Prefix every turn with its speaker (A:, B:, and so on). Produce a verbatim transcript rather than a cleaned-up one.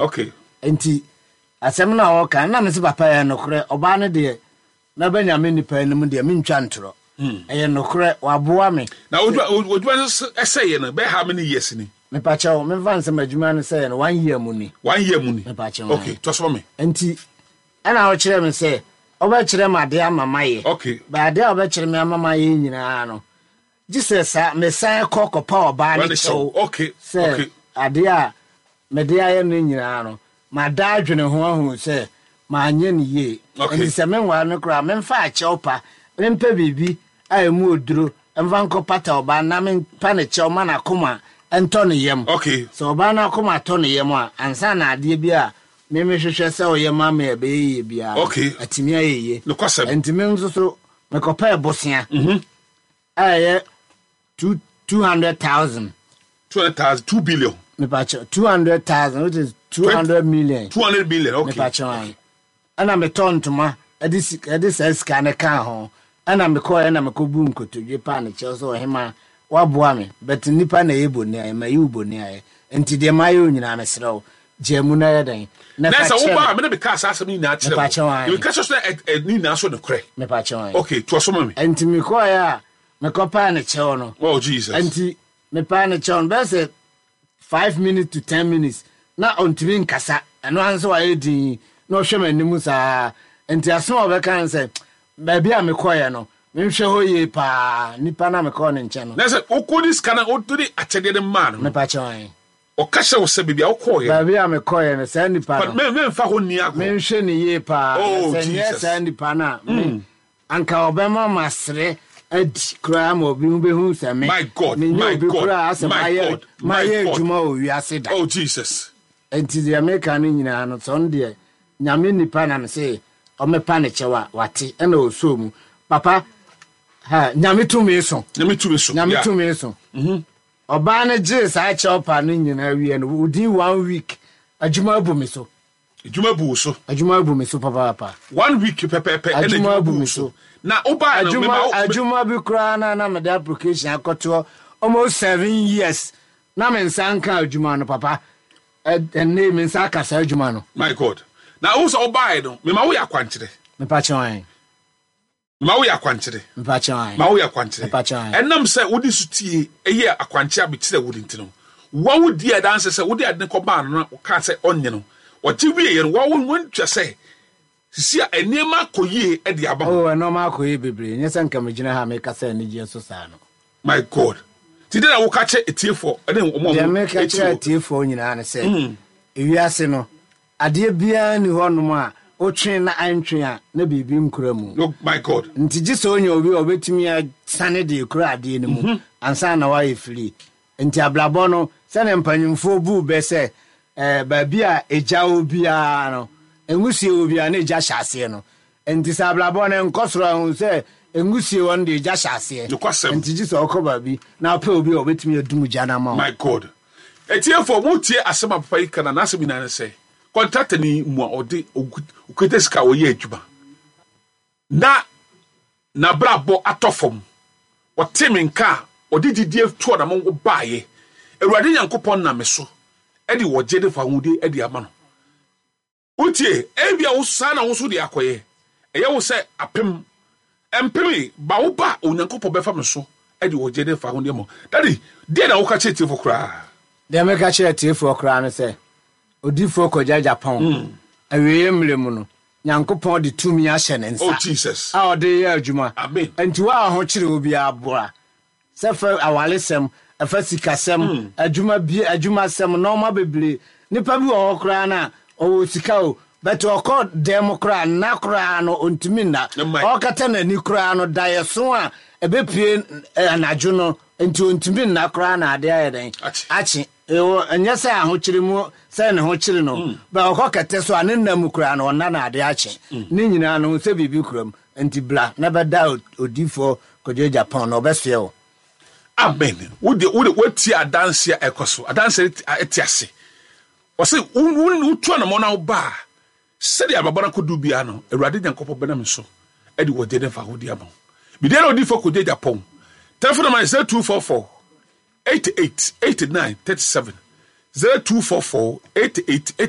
A: Okay.
B: Nti asɛm no a ɔka na mese, papa, yɛ nokorɛ. Ɔbaa no deɛ, mɛbɛ Nyame nipa anim deɛ, mentwa ntorɔ, ɛyɛ nokorɛ, waboa me.
A: Na odwuma no ɛsɛeɛ no, bɛyɛ how many years ni?
B: Mepakyɛw, memfa nsɛm adwuma no sɛeɛ no, one year mu ni.
A: One year mu ni.
B: Mepakyɛw.
A: Okay, tɔ so ma me.
B: Nti ɛna ɔkyerɛ me sɛ ɔbɛkyerɛ me adeɛ ama mayɛ.
A: Okay.
B: Ba adeɛ a ɔbɛkyerɛ me ama mayɛ nyinaa no, gye sɛ saa mesan kɔ kɔpa ɔbaa no
A: Ɔne
B: kyɛw
A: kyɛw. Okay,
B: sɛ
A: okay.
B: adeɛ a mede ayɛ no nyinaa no, mada adwene ho ahu sɛ maanyɛ no yie.
A: Okay.
B: Nti sɛ menware no koraa, memfa akyɛw pa, mempɛ biribi a ɛmu oduro mfa nkɔ pata ɔbaa na mempa ne kyɛw ma n'akoma ɛntɔ ne yam.
A: Okay.
B: Sɛ ɔbaa no akoma tɔ ne yam a, ansa na adeɛ bi a memehwehwɛ sɛ ɔyɛ ma me a ɛbɛyɛ yie biara no,
A: Okay.
B: atumi ayɛ yie.
A: Nokwasɛm.
B: Nti me nso so mekɔpɛɛ bosea a ɛyɛ two two hundred thousand.
A: Two hundred thousand, two billion.
B: Mepakyɛ, two hundred thousand, which is two hundred million.
A: Two hundred million, okay.
B: Mepakyɛ an, ɛna metɔ ntoma ɛde sika, ɛde saa sika no kaa ho, ɛna mekɔɔ, ɛna mekɔbu nkotodwe paa ne kyɛw sɛ, ɔhema, waboa me, but nipa na ɛyɛ bɔne ayɛ, ma yi wo bɔne ayɛ, nti deɛ mayɛ wo nyinaa, mesrɛ wo, gyaa mu na yɛ dɛn na
A: na
B: fa
A: sɛ
B: kyɛ
A: woba a
B: me.
A: mene meka saa asɛm no nyinaa kyerɛ
B: Mepakyɛ
A: wo.
B: wo.
A: Meka kyerɛ sɛ ɛ- ɛ- ne nyinaa so nokorɛ.
B: Mepakyɛ an.
A: Okay, toa so ma me.
B: Nti mekɔɛ a mekɔpaa ne kyɛw no,
A: Oh Jesus.
B: Nti mepaa ne kyɛw no bɛyɛ sɛ five minutes to ten minutes na ɔntumi nkasa. Ɛno ara nso wayɛ din na ɔhwɛ m'anim saa. Nti asɛm a ɔbɛka no sɛ baabi a mekɔɛ no, menhwɛ hɔ yie paa, nipa na mekɔɔ ne nkyɛn no.
A: Na sɛ wokɔdi sika no, wode akyɛdeɛ no maa no no,
B: Mepakyɛ an.
A: Ɔka kyerɛ wo sɛ baabi a wokɔɔyɛ no,
B: Baabi a mekɔɛ no, saa nipa no,
A: me- memfa hɔ nni agorɔ.
B: Menhwɛ ne yie paa.
A: Oh,
B: na sɛ nyɛ
A: Jesus.
B: saa nipa no a, me anka ɔbɛma masere adi koraa ma obi ho bɛhu sɛ me
A: My God,
B: menyɛ
A: my
B: obi
A: God,
B: koraa sɛ
A: my
B: mayɛ
A: God, my
B: mayɛ
A: God.
B: adwuma wɔ wiase da.
A: Oh Jesus.
B: Nti deɛ meka no nyinaa no, sɛ ɔno deɛ Nyame nipa nam sɛ ɔmɛpa ne kyɛw a wate, ɛna ɔsoo mu, papa ha, Nyame tumi so.
A: Nyame tumi so.
B: Nyame
A: Yeah.
B: tumi so. Ɔbaa no gyee saa kyɛw pa no nyinaa wie no, within one week adwuma abu me so.
A: Adwuma bu wo so.
B: Adwuma abu me so papaapa.
A: One week pɛpɛɛpɛ ɛna
B: Adwuma
A: adwuma
B: abu
A: bu wo
B: me
A: so.
B: so.
A: Na wobaa no,
B: Adwuma
A: mema wo
B: adwuma bi koraa na na mede application akɔtoɔ almost seven years na me nsa nka adwuma no, papa. Ɛ- ɛnne me nsa aka saa adwuma no.
A: My God, na wo sɛ wobaeɛ no, mema woyɛ akwankyerɛ.
B: Mepakyɛ wan.
A: Mema woyɛ akwankyerɛ.
B: Mepakyɛ wan.
A: Ma woyɛ akwankyerɛ.
B: Mepakyɛ wan.
A: Ɛnam sɛ wode so tie ɛyɛ akwankyerɛ a mekyerɛ wo no nti no, wa wodi adanse sɛ wode ade no kɔbaa no na wokaa sɛ ɔnyɛ no, ɔgye wieɛ no, wa wontwa sɛ sisi a nneɛma akɔ yie de aba ho.
B: Oh, ɛnɔɔma akɔ yie bebree, nyɛ sɛ nka megyina ha meka sɛ anigyeɛ so saa no.
A: My God, nti dɛn na woka kyɛ etiefoɔ ɛne ɔmo a
B: Deɛ
A: ɔmo
B: meka
A: etie
B: kyerɛ
A: wo?
B: atiefoɔ nyinaa ne sɛ ewiase no, adeɛ biara ni hɔnom a wotwe na antwe a na biribi nkura mu.
A: No, my God.
B: Nti gye sɛ onya obi a ɔbɛtumi asane de kura adeɛ no mu ansa na wayɛ firi. Nti abrabɔ no, sɛne mpanyimfoɔ buu bɛ sɛ eh, baabi a egya wɔ biara no, nwusie wɔ biara na egya hyɛ aseɛ no, nti sɛ abrabɔ no nkɔ soro ahu sɛ nwusie wɔ no de, egya hyɛ aseɛ.
A: Nokwasɛm.
B: Nti gye sɛ ɔkɔ baabi na ɔpɛ obi a ɔbɛtumi adum gya no ama wo.
A: My God, etiefoɔ, motie asɛm a papa yi ka, na n'asɛm nyinaa ne sɛ contractor ni mu a ɔde okita sika a ɔyɛ adwuma na n'abrabɔ atɔ fam. Ɔte me nka a ɔde gyidie toɔ na mo baayɛ, Awurade Nyankopɔn nam me so ɛde wɔgye de fa ahodie ɛde ama no. Wotie, ebia wo saa na wo so de akɔyɛ, ɛyɛ wo sɛ apem mpeme ba wo ba, Onyankopɔn bɛfa me so ɛde wɔgye de fa ahodie ma wo. Daddy, deɛ na woka kyerɛ tiefo koraa?
B: Deɛ meka kyerɛ tiefoɔ koraa no sɛ odiifoɔ Kwadwo Agyapong, awieeɛ mmerɛ mu no, Nyankopɔn de tumi ahyɛ ne nsa
A: Oh Jesus.
B: a ɔde yɛ adwuma.
A: Amen.
B: Nti wo a ho kyerɛ wo biara, boa sɛ fa awaresɛm, ɛfa sikasɛm, adwuma bi, adwumasɛm, nɔɔma bebree. Nipa bi wɔ hɔ koraa no a ɔwɔ sika o, bɛtɛ ɔkɔ dɛm koraa nna koraa no, ɔntumi nna.
A: Ɛmma.
B: Ɔkata n'ani koraa no, daeɛso a ɛbɛpue eh, anadwo no nti ɔntumi nna koraa na adeɛ ayɛ dɛn?
A: Akye.
B: Akye. Ɛwɔ ɛnyɛ sɛ ahokyere mu sɛ ne ho kyere no bɛ, ɔkɔ kɛtɛ so a ne nna mu koraa no, ɔnna na adeɛ akye. Ne nyinaa no sɛ biribi kura mu, nti bra na bɛda odiifoɔ Kwadwo Agyapong na ɔbɛsoɛ wo.
A: Amen. Wode wode woatie adanse a ɛkɔ so, adanse a ɛte ase. Ɔsɛ wotu anamɔ na woba a, sɛdeɛ abrabɔ no akɔdu biara no, Awurade Nyankopɔn bɛnam so ɛde wɔgye ne fa hodi ama wo. Medeɛ na odiifoɔ Kwadwo Agyapong telephone number is zero two four four eighty-eight eighty-nine thirty-seven, zero two four four eighty-eight eighty.